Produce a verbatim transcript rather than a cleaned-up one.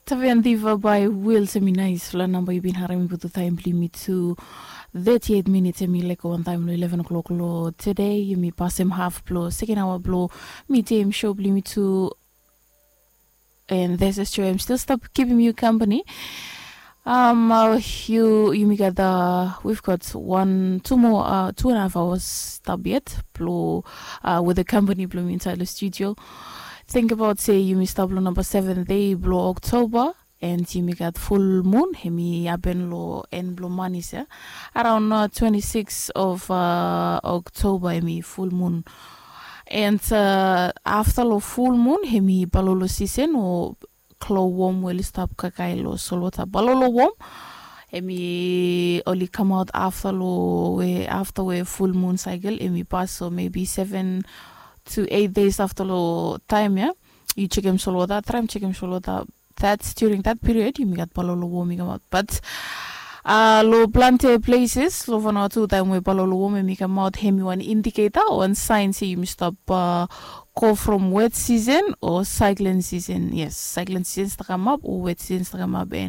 Tavian diva bai wil se mi nais fla namba yu bin harim mi putu taim bli mi tu. Thirty-eight minutes emi leko wan taim lo eleven o'clock lo today emi pasem half blo second hour blo mi tem show bli mi tu. And this is true, I'm still stop keeping you company. Um, uh, you you mi got uh, we've got one two more uh, two and a half hours stop yet blo uh, with the company blo mi inside the studio. Think about say you mi stop lo number seven day blo October. And you mi got full moon hemi happen lo end blo manis ya. Around uh, twenty-six of uh, October hemi full moon. And uh, after lo full moon hemi balolo season o klo wom we oli stap kaikai lo solwota balolo wom. Hemi oli kamaot afta lo we afta we full moon cycle hemi pas so maybe seven to eight days afta lo taim ya. Yu chekem solwota traim chekem solwota. That's during that period yumi gat balolo wom i kamaot but uh, lo plante places lo Vanuatu taim we balolo wom hemi kamaot hemi wan indicator wan sign se yumi stop uh, go from wet season o cyclone season. Yes, cyclone season sta kamap o wet season sta kamap.